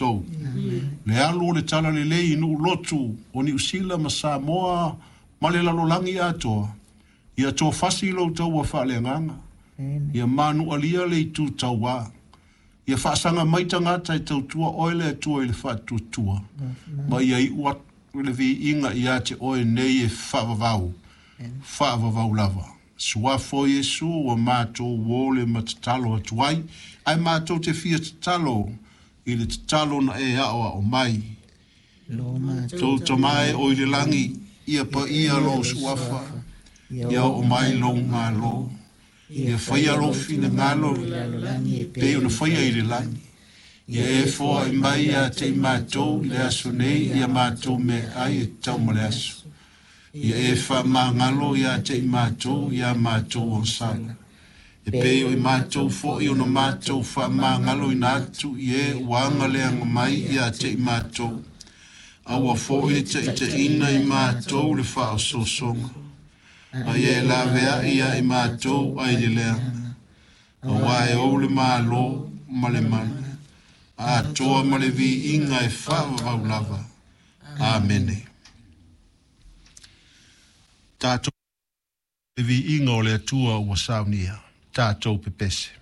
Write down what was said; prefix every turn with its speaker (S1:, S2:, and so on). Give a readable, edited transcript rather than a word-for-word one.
S1: matou. Le alu o le Talalelei i nuu lotu o Niu Sila ma Samoa ma le lalolagi atoa, ia tofasi lou taua faaleagaga, ia manualia le itu tauā, ia faasaga mai tagata e tautua oe le Atua i le faatuatua, ma ia iu atu le viiga ia te oe nei e faavavau, faavavau lava. Suafa o Iesu ua matou uo le ma tatalo atu ai, ae matou te fia tatalo i le tatalo na e aoao mai. Tou Tama e o i le lagi, ia paia lou suafa, ia oo mai lou Malo, ia faia lou finagalo pei ona faia i le lagi. Ia e foai mai ia te i matou i le aso nei ia matou meaai e tatau ma le aso. Ia e faamagalo ia te i matou ia matou agasala. E pei o i matou foi ona matou faamagaloina atu i e ua agaleaga mai ia te i matou. Aua foi le taitaiina i matou le faaosoosoga. A ia e laveai ia i matou ai le leaga. Aua e ou le Malo ma le mana, atoa ma le viiga e faavavau lava. Amene. Tatou le viiga o le Atua ua saunia. Tatou pepese.